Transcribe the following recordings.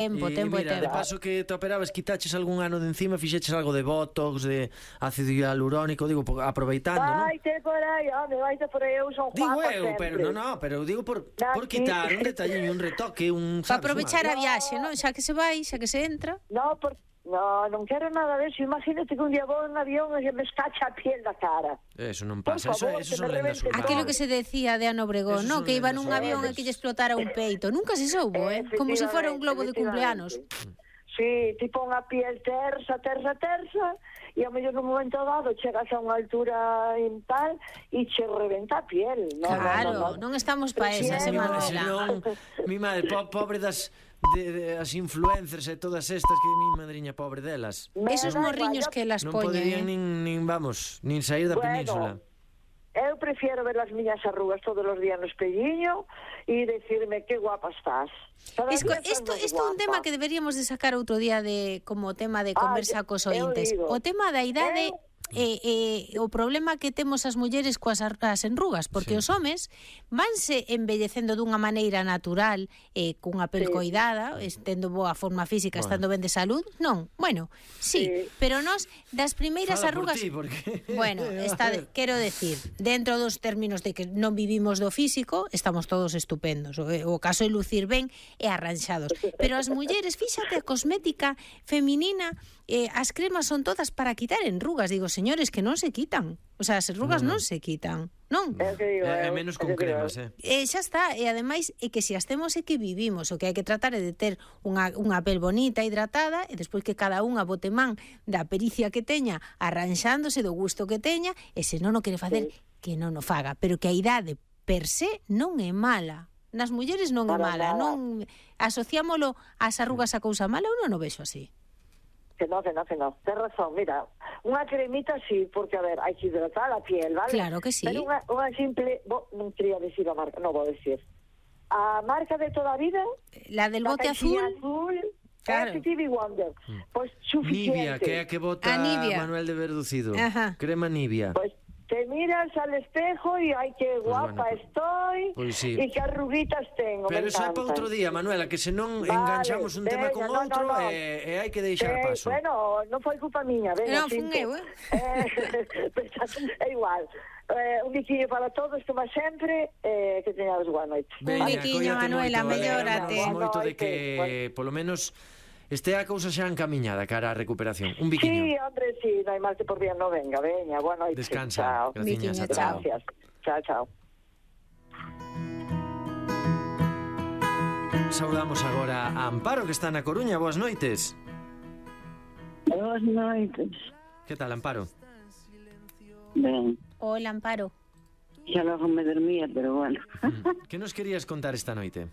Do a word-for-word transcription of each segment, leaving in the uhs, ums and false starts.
Tempo, E tempo e mira, tempo. de paso que te operabas, quitaches algún ano de encima, fixeches algo de botox, de ácido hialurónico, digo, po- aproveitando, non? Vaite por aí, home, vaite por aí, eu son Digo guapa eu, sempre. pero no, no, pero digo por, Na, por sí. quitar un detalliño, un retoque, un, Para sabes, aprovechar un a viaxe, non? Xa que se vai, xa que se entra. No, por... no, non quero nada de eso. Imagínate que un día vou en avión e se me escacha a piel da cara. Eso non Por pasa, eso, favor, eso que son me lendas revente urbanas. Aquilo que se decía de Ana Obregón, Esos ¿no? son Que iba lendas nun urbanas. avión e que lle explotara un peito. Nunca se soubo, eh? Como se fora un globo de cumpleanos. Sí, tipo unha piel tersa, tersa, tersa, e ao mellor nun momento dado chegas a unha altura en tal e che reventa a piel. No, Claro, no, no, no. non estamos pa esas, Prefiero- Emanuela. Senón, mi madre, po, pobre das de, de, as influencers e todas estas que mi madriña pobre delas. Me Esos da morriños igual, que las Non poñen, poderían eh? nin, nin, vamos, nin sair da Bueno, península. eu prefiero ver as miñas arrugas todos os días no espelliño e decirme que guapa estás. Cada Esco, día estás isto, máis isto é un guapa. tema que deberíamos de sacar outro día de como tema de conversa Ah, cos eu ointes. digo, O tema da idade eu- e, e o problema que temos as mulleres coas ar- as enrugas, porque Sí. os homes vanse embellecendo dunha maneira natural, eh, cunha pel Sí. coidada, estendo boa forma física, Bueno. estando ben de salud. Non, bueno, sí, Sí. pero nós das primeiras Fala por arrugas ti, porque... Bueno, está, A ver. quero decir, dentro dos términos de que non vivimos do físico, estamos todos estupendos. O, o caso de lucir ben e arranxados. Pero as mulleres, fíxate, a cosmética feminina, eh, as cremas son todas para quitar enrugas. Digo, señores, que non se quitan. O sea, as enrugas No, no. non se quitan. Non? É o que digo, É, é eu, menos é o con que digo cremas, eu. eh. E xa está, e ademais é que se as temos é que vivimos, o que hai que tratar é de ter unha, unha pel bonita, hidratada, e despois que cada unha bote man da pericia que teña, arranxándose do gusto que teña, e se non o quere facer, que non o faga, pero que a idade per se non é mala. Nas mulleres non é Para mala, nada. non asociámolo ás arrugas a cousa mala, eu non o vexo así. Que no, que no, que no. Tens razón, mira, unha cremita sí, porque, a ver, hai que hidratar a piel, ¿vale? Claro que sí. Pero unha, unha simple, bo, non quería decir a marca, non vou decir. A marca de toda a vida, La del la bote azul, caixinha azul, Claro. F T V Wonder, pois suficiente. Nivea, que é a que bota A Nivea. Manuel de Verducido. Ajá. Crema Nivea. Pois te miras al espejo e ai que Pois guapa bueno, estoy pois sí. e que arruguitas tengo, Pero me eso é para encantan. outro día, Manuela, que se non Vale, enganchamos un tema veña, con no, no, outro no. e, e hai que deixar Eh, paso. bueno, non foi culpa miña, venga, Non, fun cinco. eu, eh. Eh, é igual. Eh, un biquiño para todos, como sempre, eh, que teñades boa noite. Veña, biquiño, cóllate Manuela, moito, mellórate. alegramos moito de Boa que, noite. polo menos, este a cousa xa encamiñada cara á recuperación. Un Sí, biquiño. hombre, sí, non hai mal que por bien no venga, veña, boa noite. Descansa, Chao. graciñas, Biquiño, ata chao. logo. Gracias. Chao, chao. Saudamos agora a Amparo, que está na Coruña. Boas noites. Boas noites. Que tal, Amparo? Ben, Hola, Amparo. xa logo me dormía, pero bueno. Mm. Que nos querías contar esta noite?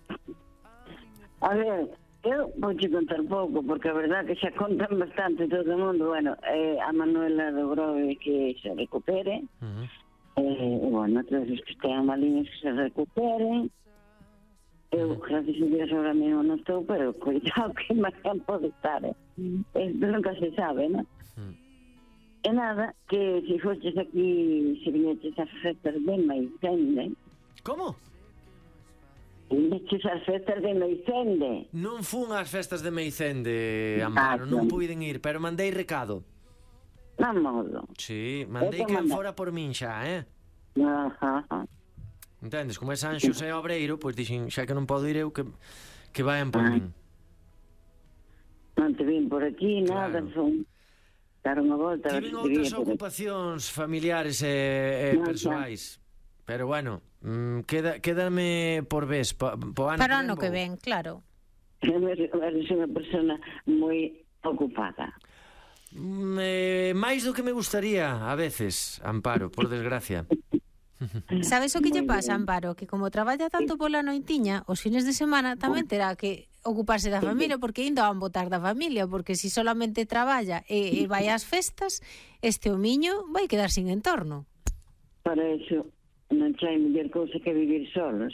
A ver, eu vou te contar pouco, porque a verdad que xa contan bastante todo o mundo. Bueno, eh, a Manuela logrou que se recupere. Uh -huh. Eh, bueno, todos os que estean maliños que se recuperen. Eu, gracias a Dios, ahora mesmo non estou, pero cuidado que máis tempo de estar, eh? Esto nunca se sabe, non? Mm. E nada, que se foches aquí, se viñeches as festas de Maicende, Como? viñeches as festas de Maicende, Non fun ás festas de Meicende, Amparo, Ah, non non. puiden ir, pero mandei recado. na modo. Sí, mandei Eu te que manda. fora por min xa, eh? Ajá, ajá. Entendes? Como é San Xosé Obreiro, pois dixen, xa que non podo ir eu, que, que vayan por Ah. min. Non te vin por aquí, nada, Claro. son dar unha volta. a ver Tiven se te outras vía por aquí. ocupacións familiares e, e Non, xa. persoais. Pero bueno, mm, queda, quédame por vez, po, po ano Para o que ano vou. que ven, claro. Eres eres unha persona moi ocupada. Mm, eh, máis do que me gustaría, a veces, Amparo, por desgracia. Sabes o que lle Moi pasa, ben. Amparo? Que como traballa tanto pola noitiña, os fines de semana tamén terá que ocuparse da familia, porque ainda van botar da familia, porque si solamente traballa e, e vai ás festas, este homiño vai quedar sin entorno. Para eso non hai mellor cousa que vivir solos.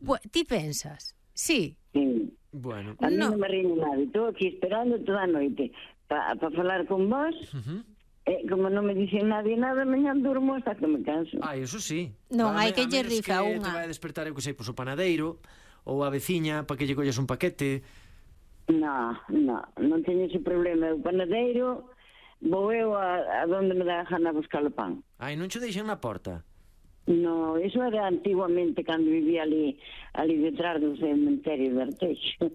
Pu- ti pensas? Sí. Sí. Bueno, A mí No. non me ríe nada. Estou aquí esperando toda a noite para pa falar con vos. uh-huh. E como non me dicen nadie nada, mañá durmo hasta que me canso. Ah, eso sí. Non, A hai me- que a lle menos rifa que unha. te vai a despertar, eu que sei, pois o panadeiro ou a veciña para que lle collas un paquete. No, no, non teño ese problema. O panadeiro, vou eu a, a donde me dá a gana a buscar o pan. Ai, non che deixan na porta? No, eso era antiguamente cando vivía ali, ali detrás do cementerio de Arteixo.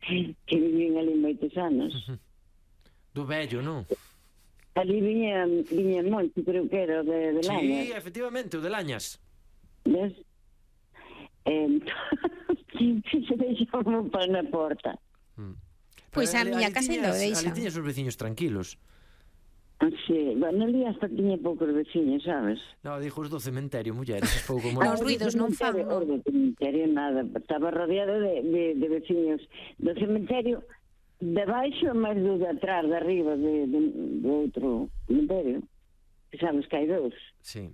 Que vivían ali moitos anos. Do vello, non? Ali viña, viña moito, creo que era o de, de Lañas. Sí, efectivamente, o de Lañas. Ves? Entón, se deixaba un pan na porta. Pois a Ali- miña ali casa tiñas- ainda o deixa. Ali tiñas os veciños tranquilos. Sí, bueno, ali hasta tiña poucos veciños, sabes? No, dijo os do cementerio, mulleres, es pouco Os molesto. ruidos non fan, Cementerio, non? o do cementerio nada, estaba rodeado de, de, de veciños do cementerio de baixo, máis do de atrás, de arriba de, de, do outro cementerio, que sabes que hai dous. Sí,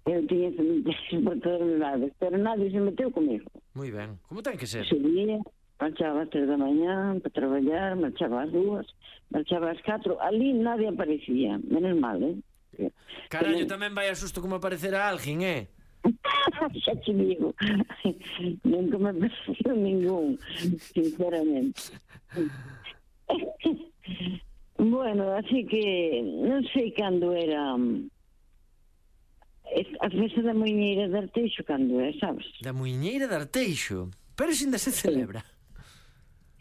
Eu tiña cementerios por todos os lados, pero nadie se meteu comigo. moi ben. Como ten que ser? Subía, marchaba ás tres da mañá para traballar, marchaba ás dúas, marchaba ás catro, ali nadie aparecía, menos mal, eh? Carallo, tamén vai a susto como aparecerá alguén, eh? Xa te digo, nunca me pareció ningún, sinceramente. Bueno, así que non sei cando era mm, es- a festa da Moiñeira de Arteixo, cando é, sabes? Da Muiñeira de Arteixo. Pero se ainda se celebra.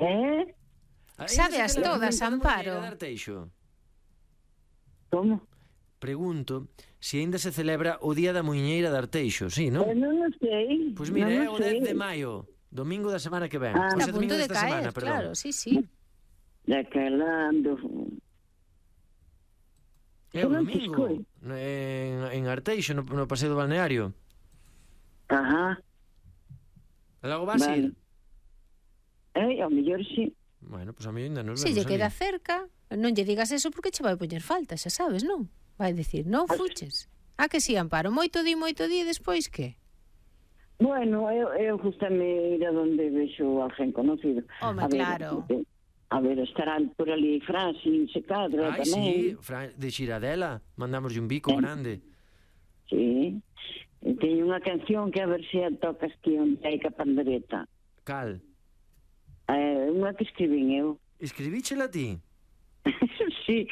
Eh? Ainda Sábeas se celebra todas, a festa da Amparo. Muiñeira de Arteixo. Como? Pregunto se ainda se celebra o Día da Muiñeira de Arteixo, sí, non? Eh, non o sei. Pois mira, non é o o dez sei. de maio, domingo da semana que ven. Ah. Pois Está é a domingo punto de desta semana, caer, perdón. claro, sí, sí. Daquela do... É o Non te domingo, escoito. en, en Arteixo, no, no paseo do balneario. Ajá. E logo vas Vale. ir? Eh, ao mellor sí. Bueno, pois pues a mí ainda nos Se vemos lle queda ali. cerca, non lle digas eso porque che vai poñer falta, xa sabes, non? Vai dicir, non fuches. A que si, Amparo? Moito di, moito di, e despois que? Bueno, eu, eu gustame ir a donde vexo a alguén conocido. Home, a ver, claro. eh, A ver, estarán por ali Francis e Cadra Ai, tamén. sí, Fran, de Xiradela, mandamos un bico Eh. grande. Sí. E teño unha canción que a ver se a tocas que onde hai ca pandereta. Cal, Eh, unha que escribín eu. escribíchela ti? Sí,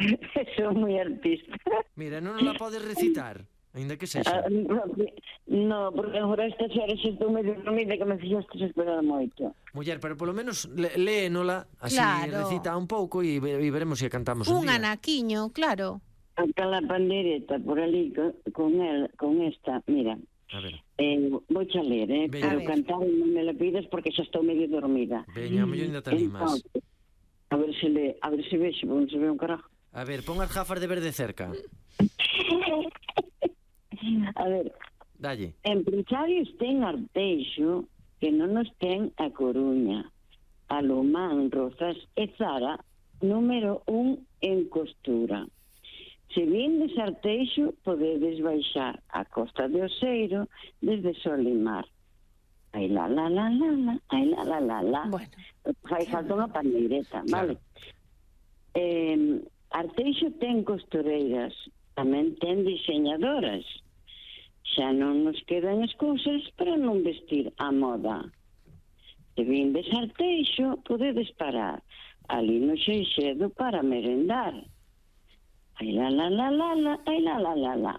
sou moi artista. Mira, non la podes recitar, ainda que sexa. Ah, no, no, porque agora estas horas estou medio dormida que me fixaste esperar moito. Muller, pero polo menos le- léenola, así Claro. recita un pouco e, ve- e veremos se a cantamos un, Un día. anaquiño, claro. Acá la pandereta por ali con, con, el, con esta, mira, A ver, eh, vou a ler, eh, Veña. pero A ver. cantar non me la pidas porque xa estou medio dormida. veña, a mellor ainda te animas. Entonces, a ver se le, a ver se vexo, non se ve un carajo. A ver, pon as gafas de verde cerca. A ver, Dalle. empresarios ten Arteixo que non nos ten a Coruña, Alomán, Rozas e Zara, número un en costura. Se vindes Arteixo, podedes baixar a Costa de Oseiro desde Solimar. Ai la la la la la, ai la la la la. Bueno. Fai falta unha pandeireta, Claro. vale? Eh, Arteixo ten costureiras, tamén ten diseñadoras. Xa non nos quedan excusas para non vestir a moda. Se vindes Arteixo, podedes parar ali no Xeixedo para merendar. Ai la la la la la, ai la la la la.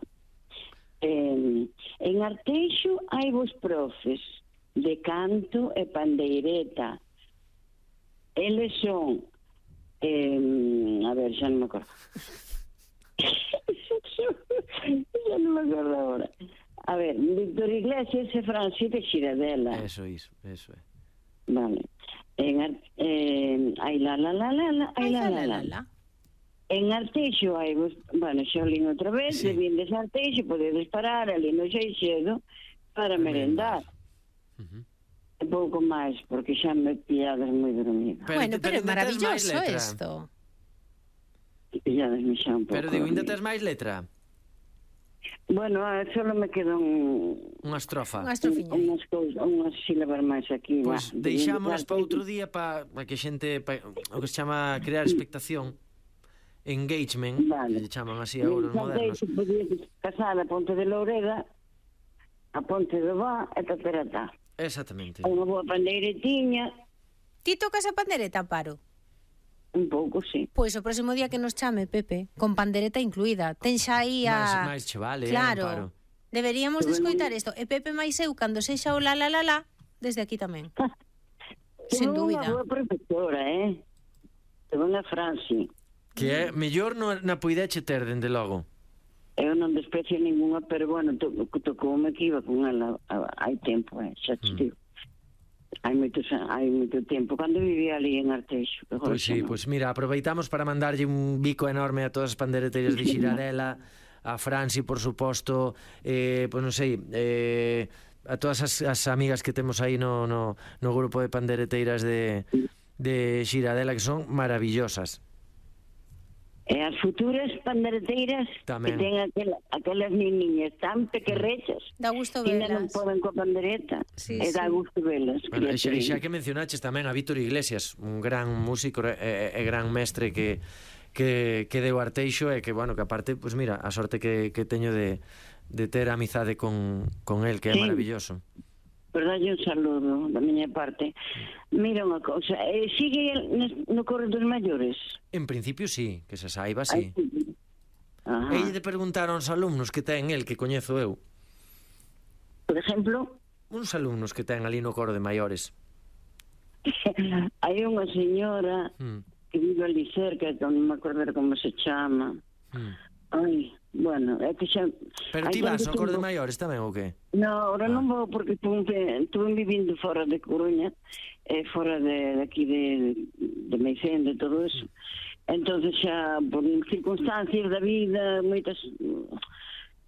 Eh, en Arteixo hai vos profes de canto e pandeireta. Eles son eh, a ver, xa non me acordo. Xa non me acordo agora. A ver, Víctor Iglesias e Francis de Xiradela. Eso, iso, eso é. Vale. En Ar- eh, ai la la la la la, ai la la la la. En Arteixo hai vos, bueno, xa olín outra vez, Sí. de vindes a Arteixo, podedes parar ali no Xeixedo para merendar. Ujú. E pouco máis, porque xa me pillades moi dormida. Pero Bueno, te- pero é ainda tes máis maravilloso letra. esto. Pillades me xa un pouco. Pero digo, ainda dormida. tes máis letra? Bueno, ah, solo me quedan Unha estrofa. Unha estrofiña. unhas cousas, unhas sílabas máis aquí. Pois va. deixámolas para outro día para pa que a xente, pa, o que se chama crear expectación, engagement, Vale. que se chaman así agora os modernos. Se podía casar a Ponte de Loureda, a Ponte do Vá e Taperatá. Exactamente. Unha boa pandeiretinha, Ti tocas a pandereta, Amparo? Un pouco, sí. Pois o próximo día que nos chame, Pepe, con pandereta incluída. Ten xa aí a... Mais, máis che vale, claro, eh, Amparo. Deberíamos de escoitar isto. E Pepe máis eu, cando sexa o la la la la, desde aquí tamén. Sen dúbida. Unha boa profesora, eh? Tuve unha Franci. Que é mellor no, na puideche ter, dende logo. Eu non desprecio ninguna, pero bueno, to, tocoume que iba con ela hai tempo, eh, xa te digo. Hai moito, hai moito tempo, cando vivía ali en Arteixo. Pois sí, no. pois mira, aproveitamos para mandarlle un bico enorme a todas as pandereteiras de Xiradela, a Franci, por suposto, eh, pois non sei, eh, a todas as, as amigas que temos aí no, no, no grupo de pandereteiras de, de Xiradela, que son maravillosas. E as futuras pandereteiras Tamén. que ten aquela, aquelas niñas tan pequerrechas, Dá gusto ainda non velas. poden coa pandereta, Sí, e dá sí. gusto velas. Bueno, e xa, e xa que mencionaches tamén a Víctor Iglesias, un gran músico e, e, e gran mestre que, que, que deu Arteixo e que, bueno, que aparte, pois pues mira, a sorte que, que teño de, de ter amizade con, con el, que é Sí. maravilloso. Pero dalle un saludo da miña parte. Mira unha cousa, eh, sigue no coro dos maiores? En principio sí, que se saiba, sí. Ajá. Ei de preguntar aos alumnos que ten el, que coñezo eu. Por exemplo, Uns alumnos que ten ali no coro de maiores. hai unha señora Mm. que vive ali cerca, que non me acordo como se chama. Mm. Ai, bueno, é que xa... Pero ti vas ao coro de maiores tamén ou que? No, ahora Ah. non vou porque estuve vivindo fora de Coruña, e fora de, de aquí de, de Meicén, de todo eso. Entonces xa, por circunstancias da vida, moitas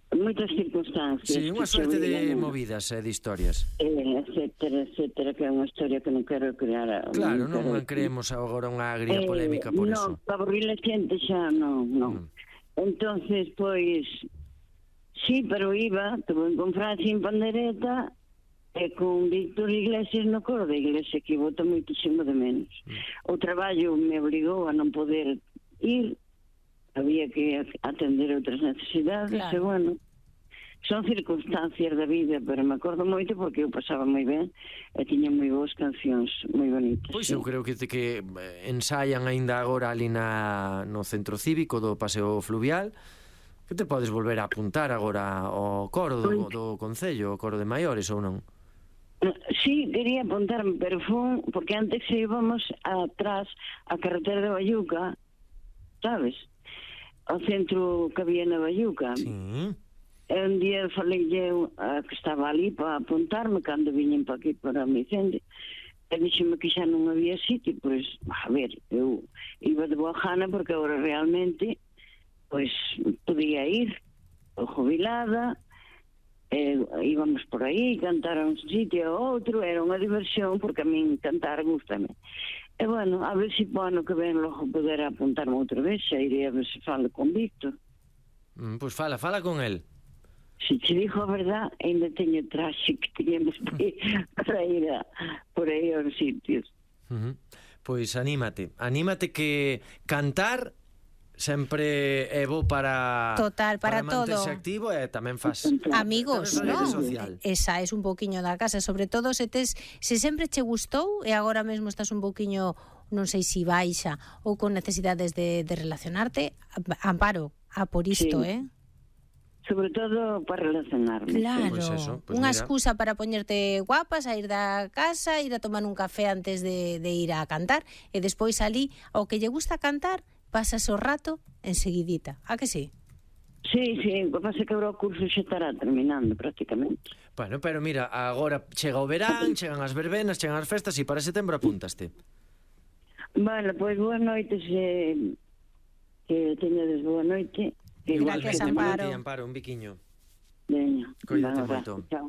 moitas circunstancias. Sí, unha que suerte se de veían, movidas e de historias. eh, etcétera, etcétera, que é unha historia que non quero crear. a- Claro, non quero- creemos agora unha agria Eh, polémica por no, eso. para aburrir a xente xa non, non. Mm. Entonces, pois, sí, pero iba, tuve con Francia en pandereta e con Víctor Iglesias no coro da iglesia, que vota moitísimo de menos. Mm. O traballo me obrigou a non poder ir, había que atender outras necesidades, Claro. e bueno, son circunstancias da vida, pero me acordo moito porque eu pasaba moi ben e tiña moi boas cancións, moi bonitas. Pois sí. eu creo que, que eh, ensayan aínda agora ali na, no centro cívico do Paseo Fluvial, que te podes volver a apuntar agora ao coro do, do Concello, o coro de maiores ou non? Sí, quería apuntarme, pero foi porque antes íbamos atrás a carretera de Bayuca, sabes? Ao centro que había na Bayuca. Sí. E un día falei eu a que estaba ali para apuntarme cando viñen para aquí para o Micende. E dixeme que xa non había sitio, pois, a ver, eu iba de boa gana porque agora realmente pois podía ir o jubilada, e íbamos por aí, cantar a un sitio ou outro, era unha diversión porque a min cantar gustame. E bueno, a ver se po ano que ven logo poder apuntarme outra vez, xa irei a ver se falo con Víctor. Mm, pois fala, fala con el. Se te digo a verdad, ainda teño traxe que teñamos que para ir a, por aí aos sitios. Uh -huh. Pois anímate, anímate que cantar sempre é bo para Total, para, para manterse todo. activo e tamén faz Amigos, tamén non? faz social. Esa es un poquiño da casa, sobre todo se tes, se sempre che gustou e agora mesmo estás un poquiño, non sei si baixa ou con necesidades de, de relacionarte, Amparo, a por isto, Sí. eh? Sobre todo para relacionarme. Claro, Pois eso, pois unha mira. excusa para poñerte guapa, sair da casa, ir a tomar un café antes de, de ir a cantar e despois ali, ao que lle gusta cantar, pasas o rato enseguidita, a que sí? Sí, sí, o que pasa é que agora o curso xa estará terminando prácticamente. Bueno, pero mira, agora chega o verán, chegan as verbenas, chegan as festas e para setembro apúntaste. Vale, pois boa noite, se que teñades boa noite. Igualmente, Gracias, Amparo. para ti, Amparo, un biquiño. Veña, Coídate un moito. abrazo, chao.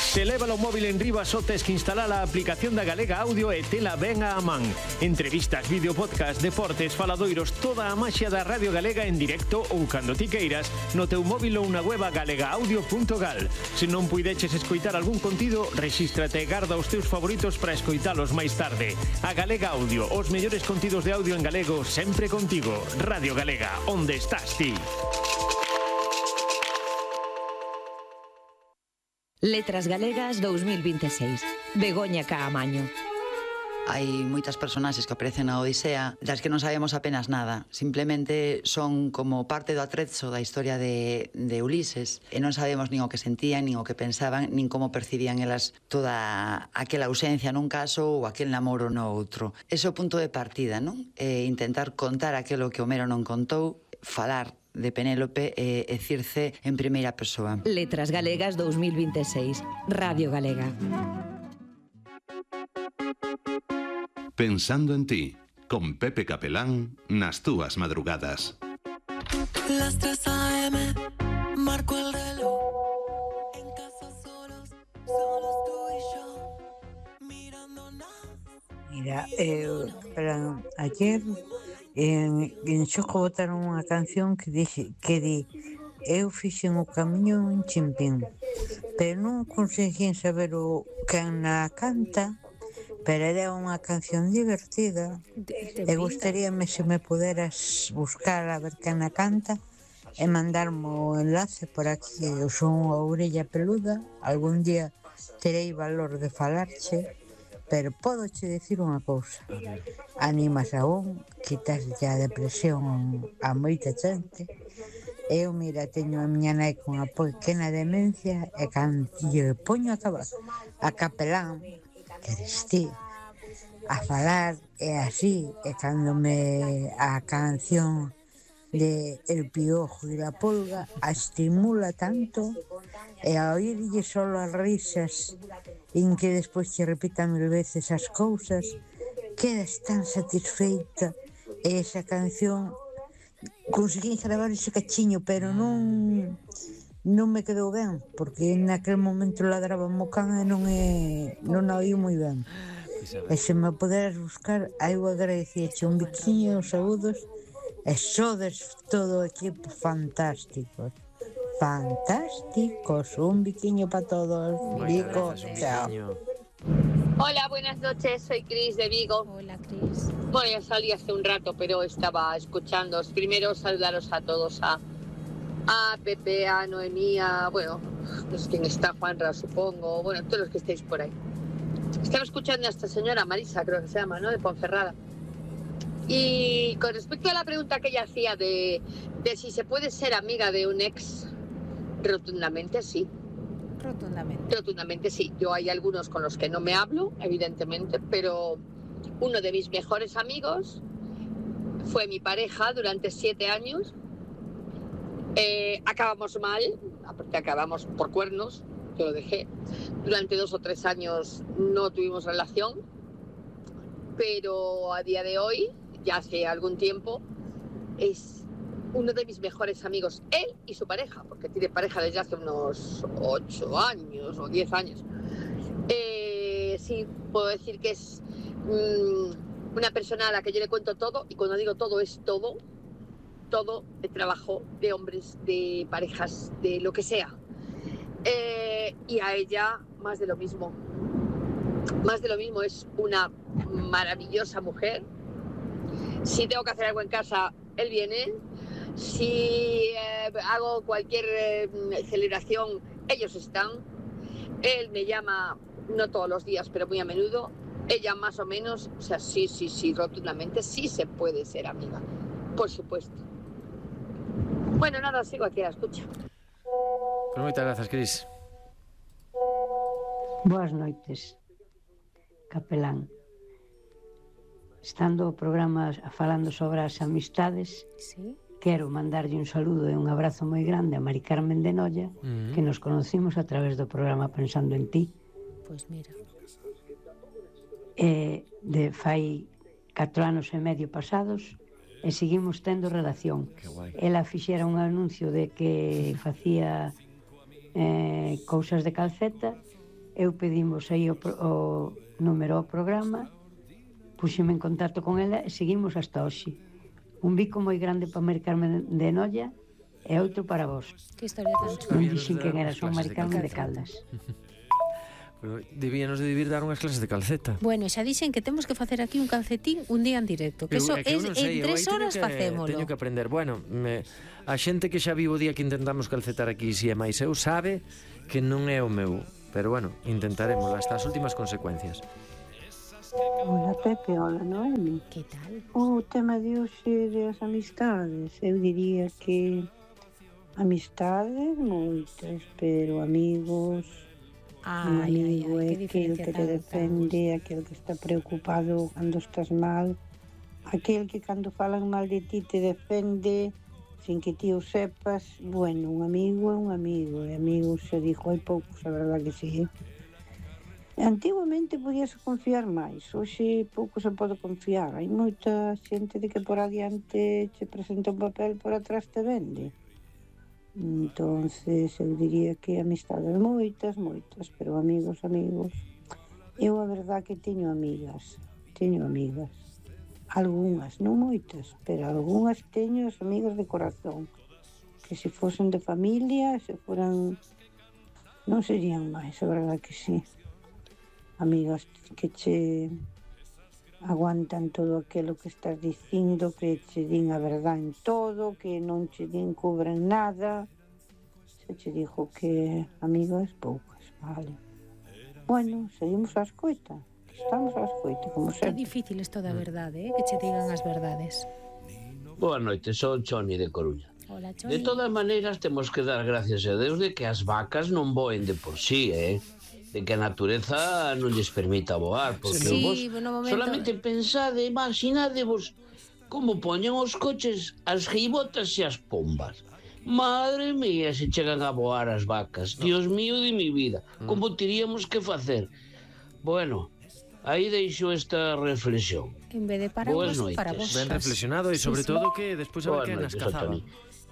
Se leva o móvil en riba só tes que instalar a aplicación da Galega Audio e tela ben a man. Entrevistas, vídeo podcast, deportes, faladoiros, toda a maxia da Radio Galega en directo ou cando ti queiras no teu móvil ou na web galega audio punto gal. Se non puideches escoitar algún contido, rexístrate e garda os teus favoritos para escoitalos máis tarde. A Galega Audio, os mellores contidos de audio en galego sempre contigo. Radio Galega, onde estás ti? Letras Galegas dous mil vinte e seis. Begoña Caamaño. Hai moitas personaxes que aparecen na Odisea das que non sabemos apenas nada. Simplemente son como parte do atrezo da historia de, de Ulises e non sabemos nin o que sentían, nin o que pensaban, nin como percibían elas toda aquela ausencia nun caso ou aquel namoro no outro. Ese é o punto de partida, non? E intentar contar aquilo que Homero non contou, falar de Penélope e, e Circe en primeira persoa. Letras Galegas dos mil veintiséis. Radio Galega. Pensando en ti, con Pepe Capelán nas túas madrugadas. Las tres a eme, marco el reloj. En casa solos, solos tú y yo, mirando nada. Mira, eu, pero ayer en, en Xoco botaron unha canción que dixe, que di eu fixen o camiño en Chimpín, pero non conseguín saber o quen na canta. Pero era unha canción divertida e gustaríame se me puderas buscar a ver quen a canta e mandarme o enlace por aquí. Eu son unha orella peluda, algún día terei valor de falarche, pero podo che dicir unha cousa: animas a un, quitas a depresión a moita xente. Eu, mira, teño a miña nai con a pequena demencia e cando lle poño a, caba, a Capelán, que eres ti, a falar e así, e cando me a canción de El Piojo e la Pulga a estimula tanto, e a oírlle solo as risas en que despois te repitan mil veces as cousas, quedas tan satisfeita. E esa canción conseguí gravar ese cachiño, pero non non me quedou ben, porque naquele momento ladraba mo can e non é, non a oí moi ben. E se me poderas buscar, eu agradecíache un biquiño, os saúdos, e sodes todo o equipo fantásticos. Fantásticos, un biquiño para todos. Vigo, chao. Hola, buenas noches, soy Cris de Vigo. Hola, Cris. Bueno, ya salí hace un rato, pero estaba escuchándoos. Primero saludaros a todos, a, a Pepe, a Noemí, a, bueno, no sé quién está, Juanra, supongo, bueno, todos los que estéis por ahí. Estaba escuchando a esta señora Marisa, creo que se llama, ¿no?, de Ponferrada. Y con respecto a la pregunta que ella hacía de, de si se puede ser amiga de un ex, rotundamente sí. Rotundamente. Rotundamente sí. Yo hay algunos con los que no me hablo, evidentemente, pero uno de mis mejores amigos fue mi pareja durante siete años. Eh, acabamos mal, aparte acabamos por cuernos, yo lo dejé. Durante dos o tres años no tuvimos relación, pero a día de hoy, ya hace algún tiempo, es uno de mis mejores amigos, él y su pareja, porque tiene pareja desde hace unos ocho años o diez años. Eh, sí, puedo decir que es mmm, una persona a la que yo le cuento todo, y cuando digo todo es todo, todo de trabajo, de hombres, de parejas, de lo que sea. Eh, y a ella más de lo mismo. Más de lo mismo, es una maravillosa mujer. Si tengo que hacer algo en casa, él viene. Si eh, hago cualquier eh, celebración, ellos están. Él me llama, no todos los días, pero muy a menudo. Ella más o menos, o sea, sí, sí, sí, rotundamente, sí se puede ser amiga, por supuesto. Bueno, nada, sigo aquí a la escucha. Pues moitas grazas, Cris. Boas noites, Capelán. Estando o programa falando sobre as amistades, sí, quero mandarlle un saludo e un abrazo moi grande a Mari Carmen de Noia, uh-huh, que nos conocimos a través do programa Pensando en ti. Pois pues mira. E de fai catro anos e medio pasados e seguimos tendo relación. Ela fixera un anuncio de que facía eh, cousas de calceta, eu pedimos aí o, o número ao programa, puxeme en contacto con ela e seguimos hasta hoxe. Un bico moi grande para Mari Carmen de Noia e outro para vos. Que historia tan chula. Non dixen quen era, son Mari Carmen de Caldas. Pero debíanos de vivir dar unhas clases de calceta. Bueno, xa dixen que temos que facer aquí un calcetín un día en directo, que eso é en tres horas facémolo. Teño que aprender. Bueno, me, a xente que xa vivo o día que intentamos calcetar aquí, si é máis eu, sabe que non é o meu. Pero bueno, intentaremos hasta as últimas consecuencias. Hola Pepe, hola Noemi. Que tal? O tema de hoxe das amistades, eu diría que amistades moitas, pero amigos, un Ai, ai, amigo ai, é que aquel diferencia que te tan defende, aquel que está preocupado cando estás mal, aquel que cando falan mal de ti te defende sin que ti o sepas. Bueno, un amigo é un amigo, e amigos se dixo hai poucos, a verdad que sí. Antiguamente podías confiar máis, hoxe pouco se pode confiar. Hai moita xente de que por adiante che presenta un papel, por atrás te vende. Entonces eu diría que amistades moitas, moitas, pero amigos, amigos. Eu a verdad que teño amigas, teño amigas. Algúnas, non moitas, pero algúnas teño as amigas de corazón. Que se fosen de familia, se foran, non serían máis, a verdad que sí. Amigas que che aguantan todo aquilo que estás dicindo, que che din a verdad en todo, que non che din cubren nada. Se che dixo que amigas poucas, vale. Bueno, seguimos a escoita, estamos a escoita, como Que sempre. difícil isto da verdade, eh? Que che digan as verdades. Boa noite, son Choni de Coruña. Hola, De Choni. todas maneiras, temos que dar gracias a Deus de que as vacas non voen de por sí, eh? De que a natureza non lles permita voar, porque Sí, vos no momento- solamente pensade, imaginadevos como poñen os coches as geibotas e as pombas. Madre mía, se chegan a voar as vacas. Dios mío de mi vida, como teríamos que facer? Bueno, aí deixo esta reflexión. En vez de para Boas vos, noites. para vos. Ben reflexionado e Sí, sobre sí. todo que despois a ver Boas que nas noites, cazaba. Antoni.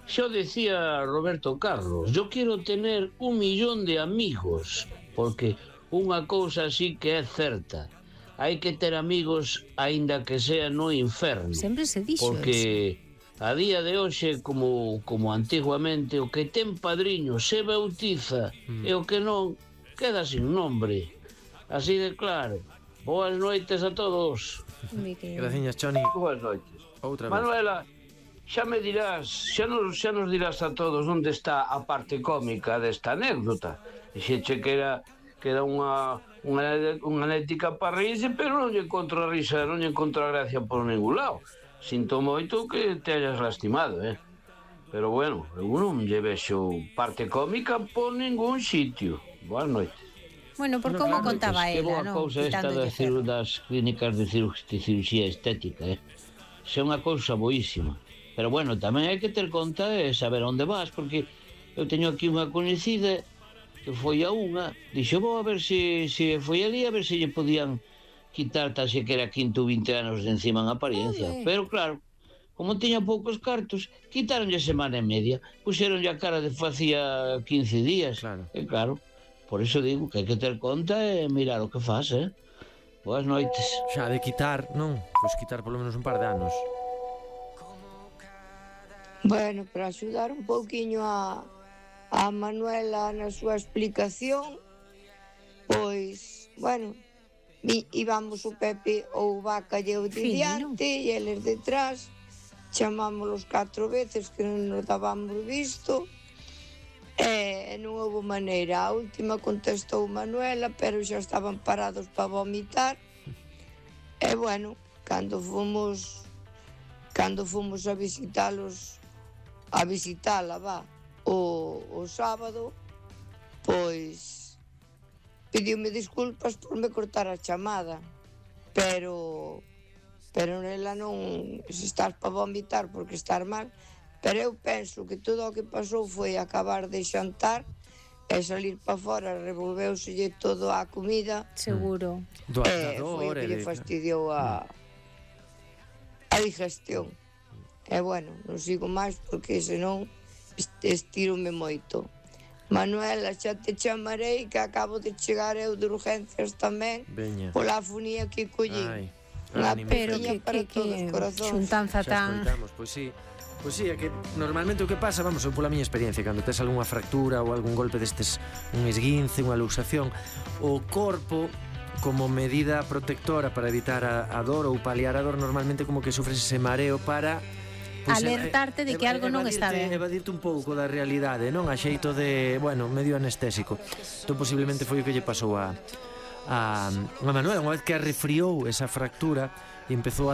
Yo decía Roberto Carlos, yo quiero tener un millón de amigos, porque unha cousa sí que é certa, hai que ter amigos aínda que sea no inferno. Sempre se dixo Porque a día de hoxe, como, como antiguamente, o que ten padriño se bautiza Mm. e o que non queda sin nombre. Así de claro. Boas noites a todos. Graciñas, Choni. Boas noites. Outra vez. Manuela, xa me dirás, xa nos, xa nos dirás a todos onde está a parte cómica desta anécdota. Dixeche que era que era unha unha, unha anéctica para reírse, pero non lle encontro a risa, non lle encontro a gracia por ningún lado. Sinto moito que te hayas lastimado, eh? Pero bueno, eu non lle vexo parte cómica por ningún sitio. Boas noites. Bueno, por como contaba Que ela, boa non? cousa esta Quitándolle das, ciru, das clínicas de, ciru, de cirugía estética, eh? Xa é unha cousa boísima. Pero bueno, tamén hai que ter conta e saber onde vas, porque eu teño aquí unha coñecida que foi a unha, dixo, vou a ver se, se foi ali, a ver se lle podían quitar tal se que era quinto ou vinte anos de encima en apariencia. Ole. Pero claro, como tiña poucos cartos, quitaronlle semana e media, puxeronlle a cara de facía quince días. Claro. E claro, por iso digo que hai que ter conta e mirar o que faz, eh? Boas noites. Xa de quitar, non? Pois quitar polo menos un par de anos. Bueno, para axudar un pouquiño a, a Manuela na súa explicación, pois, bueno, vi, íbamos o Pepe ou Vaca e eu de Fino. diante e eles detrás, chamámoslos catro veces que non nos dábamos visto, e non houve maneira. A última contestou Manuela, pero xa estaban parados para vomitar, e bueno, cando fomos cando fomos a visitalos a visitala, va, o, o sábado, pois pediume disculpas por me cortar a chamada, pero pero nela non, se estás para vomitar porque estar mal, pero eu penso que todo o que pasou foi acabar de xantar e salir para fora, revolveuselle todo a comida. Seguro. Do E foi o adaptador, que lle e de- fastidiou a a digestión. E bueno, non sigo máis porque senón est- estirome moito. Manuela, xa te chamarei que acabo de chegar eu de urgencias tamén Veña. pola afonía que collín. Ai, Unha ánimo. Pero peciña que, para que, todos que corazóns. xuntanza Xa tan... escoitamos, pois sí. Pois sí, é que normalmente o que pasa, vamos, eu pola miña experiencia, cando tes algunha fractura ou algún golpe destes, un esguince, unha luxación, o corpo, como medida protectora para evitar a, a dor ou paliar a dor, normalmente como que sufres ese mareo para... pois, Alertarte de que algo non está ben. Evadirte un pouco da realidade, non? A xeito de, bueno, medio anestésico. Entón posiblemente foi o que lle pasou a a, a Manuela, unha vez que a refriou esa fractura e empezou a